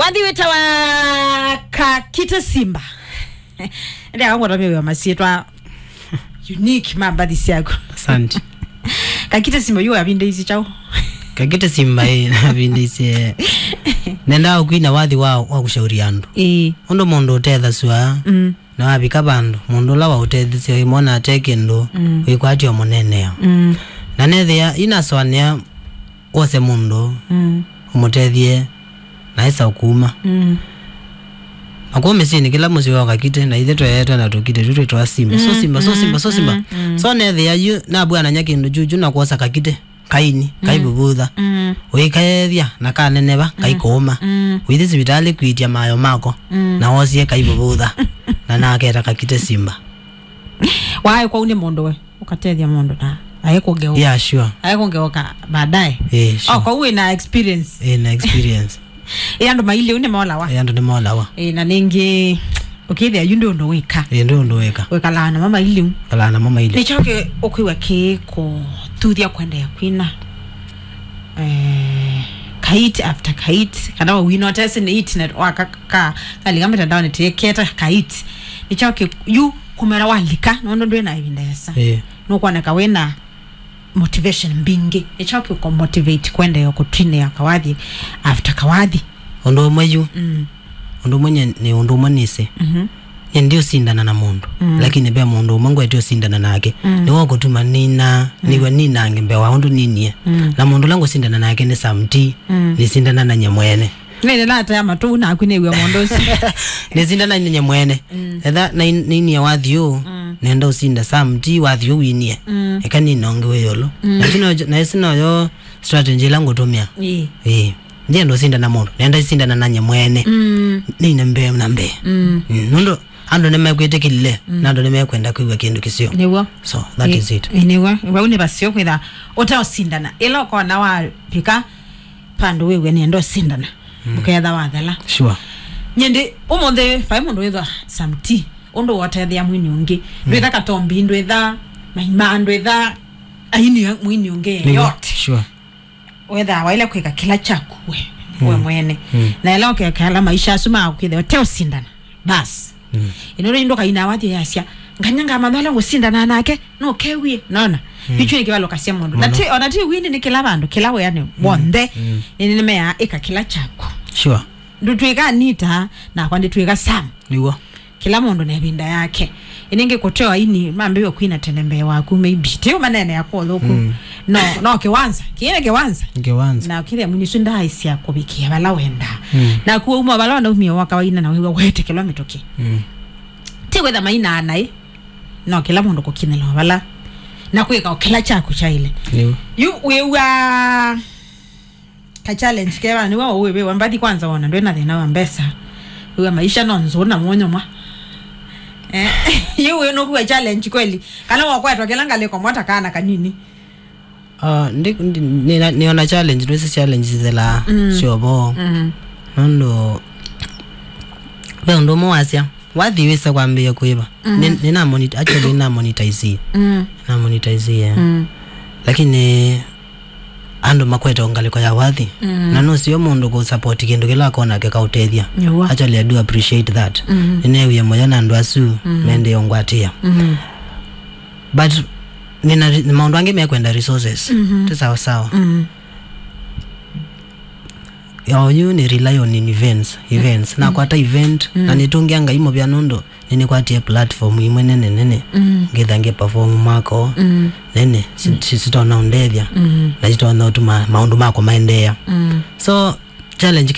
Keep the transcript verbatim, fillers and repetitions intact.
Athi wĩtawa Kakite Simba. Ndi akangwata mĩwĩa masyĩtwa unique ma mbathi syaku. Asante. Kakite Simba yu avindĩisye kyaũ? Kakite Simba, ĩ, avindĩisye. Nendaa ũkwina wathi wa, wa kũshauri andũ. Ĩĩ. Ũndũ mũndũ ũtethasw'a, mm, na wavika vandũ, mũndũ ũla waũtethisye wĩmwona ate kĩndũ, mm, wĩkwatya ũmũneenea. Mm. Na nethĩa, inasoanĩa wose mũndũ, mm, ũmũtethye, na esa ũkuma. Mm. Na kũu mĩsyĩnĩ, kĩla mũsyĩ wa Kakite, na ithe tweetwe na tũkite tũ twĩtwa Simba. So, mm, Simba, so, mm, Simba, so, Simba. Mm, mm. So, nethĩa yu, nabwanany'a kĩndũ kyuchu na kwosa Kakite, kaini, mm, kaivuvutha. Mm. Ũikaethya, na kaneneva, mm, kaikũũma. Mm. Ũithi sivitalĩ kwĩtya mayo mako, mm, na wosie kaivuvutha. Na naketa Kakite Simba. Waĩ kwau nĩ mũndũ we, ũkatethya mũndũ na aĩ kũgeũka. Yeah, sure. Aĩ kũgeũka baadaye. Eh, sure. Oh, kwau wĩ na experience. Eh, na experience. Ĩ andũ mailiu nĩmolawa. Ĩ andũ nĩmolawa. Ĩ, na nĩngĩ, ũkĩthĩa yu ndĩ ũndũ wĩka. Ĩ ndĩ ũndũ wĩka. Wĩkalaa namo mailiu. Kalaa namo mailiu. Nĩkyo kĩ ũkwĩw'a kĩ kũthuthya kwendeea kwina. Eh, kait after kait, kana we wĩnotesi nĩ it net waka ka, kalika mĩtandaonĩ tĩketa kait. Nĩkyo kĩ yu kũmera walika, nũndũ ndwĩ na ĩvinda ĩasa. Ĩ. Nũkwoneka wĩna motivation mbingĩ. Nĩkyo kĩũko motivate kwendeea kũtwinĩa kawathi after kawathi. Ũndũ ũmwe yu, mm, ũndũ ũmwe nye, nĩ ũndũ ũmwe nĩsĩ. Mhm. Nye ndiũsindana na mũndũ, mm, lakini ve mũndũ ũmwe ngwete ũsindana nake. Mm. Nĩwe ũkũtuma nina, mm, nĩwe ninange mbee wa ũndũ ninie. Mm. Na mũndũ ũla ngũsindana nake nĩ Sam T, mm, nĩsindana na nye mwene. Nĩnĩnataya matũ naku nĩw'e mũndũ ũcio. Nĩsindana na nye mwene. Mm. Etha na in-, ninie wathi ũũ, mm, nenda ũsinda Sam T wathi ũũ winie. Mm. Eka ninongewe yolo. Mm. Lakini ojo, na ĩsi noyo strategy ĩla ngũtũmĩa. Ĩĩ. Ĩĩ. Ndienda ũsindana mũndũ. Nenda ĩsindana na nye mwene. Mm. Nine mbee na mbee. Mm. Mm. Nũndũ andũ nĩmekwĩtĩkĩlile, mm, na andũ nĩmekwenda kwĩw'a kĩndũ kĩseo. Nĩw'o. So, that, ĩ-, is it. Ĩ, nĩw'o. Vau nĩ vaseo kwĩtha ũteũsindana. Ĩla ũkona wavika vandũ wĩw'e nĩenda ũsindana. Mm. Ũketha wathela. Sure. Nyindi, ũmũnthĩ, vai mũndũ wĩthwa Sam T. Ũndũ wotethea mwini ũngĩ. Mm. Ndwĩtha Katombi, ndwĩtha Maima, ndwĩtha aini mwini ũngĩ. Nĩw'o. Yote. Sure. Wethaa waile kwĩka kĩla kyaku we, mm, we mwene. Mm. Na ĩla ũkekala maisha asu ma kwĩthĩwa te ũsindana. Bas. Mm. Ĩno rĩu ndũkaina wathi yasya, "Nganya ngamanya ũla ngũsindana nake, no kewie." Nona? Mm. Ĩkyo nĩ kĩvalũkasya mũndũ. Na mũno. Ti, ona ti wini nĩ kĩla vandũ, kĩla wĩanĩ, mm, w'onthe. Mm. Nĩ, nĩmeaa ĩka kĩla kyaku. Sure. Ndũtwĩka Anita, nakwa ndĩtwĩka Sam. Nĩw'o. Kĩla mũndũ na ĩvinda yake. Ĩnĩngĩ kũteo aini mambĩwe kwina tene mbee waku, maybe. Ti ũmaneenea kwa ũthũku. Mm. No, no kĩwanza. Kĩĩ nĩ kĩwanza. Kĩwanza. Na kĩthĩa mwini ũsu ndaaĩsya kũvikĩa vala wendaa. Mm. Naku wauma vala wanaumia waka waina na wĩw'a wetĩkĩlwa mĩtũkĩ. Mm. Ti kwĩtha mainaa naĩ. No kĩla mũndũ kũkinyĩla o vala. Na kwĩka o kĩla kyaku kyaĩle. Nĩw'o. Yu wĩw'a ka challenge keva nĩwe ũwĩwĩwa mbathi kwanza wona ndwĩ na thĩna wa mbesa. Wĩwa maisha no nzũ na mwonyo mwa. Eh, yu wĩ nũkuwa challenge kweli. Kana wakwetwa kĩla ngalĩko mwata kana kanini. Ah, ndi, ndi, nĩna, nĩona challenge, ndwĩsĩ challenge zĩla, mm, syovo. Mm. Nũndũ ve ũndũ ũmwe wasya, wathi wĩsa kwambĩĩa kũĩva. Mm. Nĩ, nĩna monit-, actually nĩna monetize. Mm. Na monetize, yeah. Mm. Lakini andũ makwete o ngalĩko ya wathi. Mm. Na nũseo mũndũ kũ support kĩndũ kĩla akona kĩkaũtethya. Nĩw'o. Actually, I do appreciate that. Mm. Nĩneewie mũyo na andũ asu, mm, mendee ũngwatĩa. Mm. But nĩna re-, maũndũ angĩ mekwenda resources. Mm-hmm. Ti sawa sawa. Mm. Ya oyu nĩ rely on in events, events. Mm. Nakwata event, mm, na nĩtũngĩa Ngai mũvea nũndũ nĩnĩkwatie platform imwe nene nene. Mm. Ngĩtha ngĩ perform mako, mm, nene, si-, mm, si-, sitona ũndethya. Mm. Na sitona ũtuma maũndũ makwa maendeea. Mm. So, challenge kĩla